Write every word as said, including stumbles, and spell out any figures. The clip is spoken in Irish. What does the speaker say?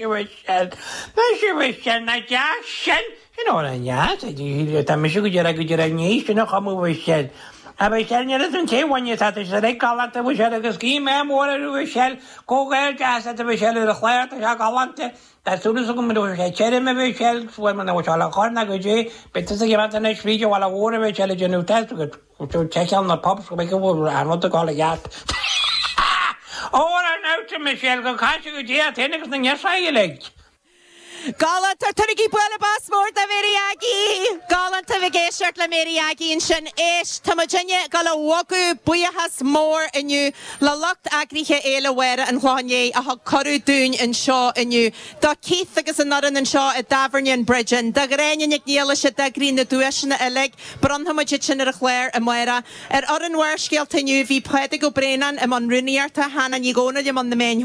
Michelle, Mise Michelle na deas sin sin amhrán deas tá mise go deireadh go deireadh ní sin a chumadh Michelle. A Michelle ní an té bhaine tá sé le galánta Michelle agus cí mé mór ar Michelle comhghairdeas deas Michelle ar a chlár tá sé galánta. Tá súil agam go raibh sé tirim a Michelle fuair mé na le chur na go dtí bit a ghean na fríde bhla mhór a Michelle déanamh test go check na pubs go mbeidh go bhfuil an rud ag dul i gceart. Ó ar náte Michelle go caise go dtí a théine agus na ngesáile uilig. Galánta tugaigí bualadh bos mór do Mary Aggie! Galánta bheith ag éisteacht le Mary Aggie ansin éist tá muidinne ag dul a bhogadh buíochas mór inniu le lucht eagraithe Fhéile Mháire an Chlocháin Léith a thug cuireadh dúinn anseo inniu. Do Keith agus an fhoireann anseo i dTábhairne an Bridge Inn, do Ghráinne Nic Niallais a d'eagraigh na duaiseanna uilig, bronnfaidh muid iad sin ar an chlár amárach. Ar fhoireann Bharrscéalta inniu bhí Pádraig Ó Braonáin i mbun rúnaíochta, Hannah Ní Dhomhnaill i mbun na meáin